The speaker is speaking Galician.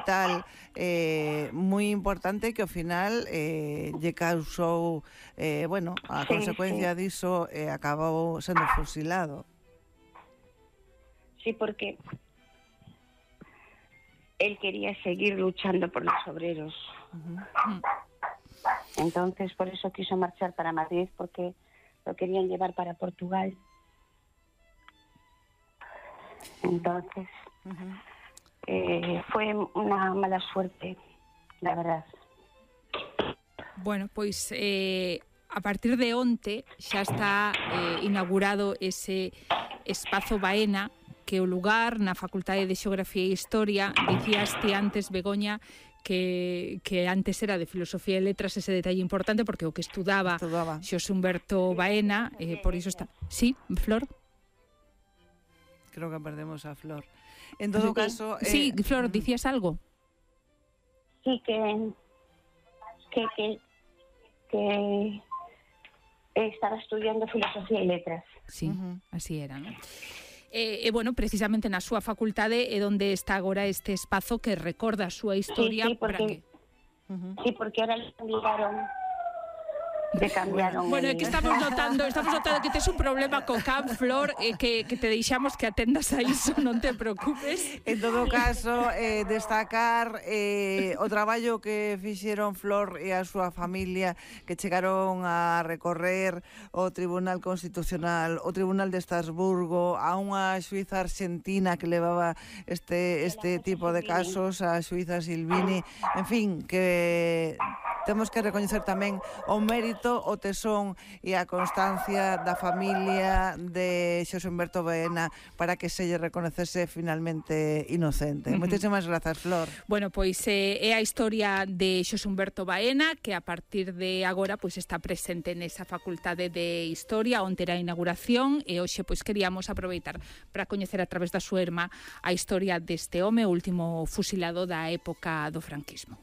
vital moi importante que ao final lle causou, a consecuencia diso acabou sendo fusilado. Sí, porque él quería seguir luchando por los obreros. Entonces, por eso quiso marchar para Madrid, porque lo querían llevar para Portugal. Entonces, fue una mala suerte, la verdad. Bueno, pois a partir de onte xa está inaugurado ese espazo Baena, que o lugar na Facultade de Xeografía e Historia, dicíaste antes, Begoña, que antes era de Filosofía e Letras, ese detalle importante, porque o que estudaba Xosé Humberto Baena, por iso está... Sí, Flor? Creo que perdemos a Flor. En todo caso... Sí, Flor, ¿dicías algo? Sí, que estaba estudiando Filosofía e Letras. Sí, así era, ¿no? Bueno, precisamente na súa facultade é onde está agora este espazo que recorda a súa historia. Sí, porque ahora le cambiaron. Bueno, é que estamos notando que tes un problema co can, Flor, que te deixamos que atendas a iso, non te preocupes. En todo caso, destacar o traballo que fixeron Flor e a súa familia, que chegaron a recorrer o Tribunal Constitucional, o Tribunal de Estrasburgo, a unha xuíza argentina que levaba este tipo de casos, a xuíza Silvini, en fin, que temos que recoñecer tamén o mérito, o tesón e a constancia da familia de Xosé Humberto Baena para que se lle reconecese finalmente inocente. Moitísimas grazas, Flor. Bueno, pois é a historia de Xosé Humberto Baena, que a partir de agora pois está presente nesa Facultade de Historia, onde era a inauguración, e hoxe pois queríamos aproveitar para coñecer a través da súa irmá a historia deste home, o último fusilado da época do franquismo.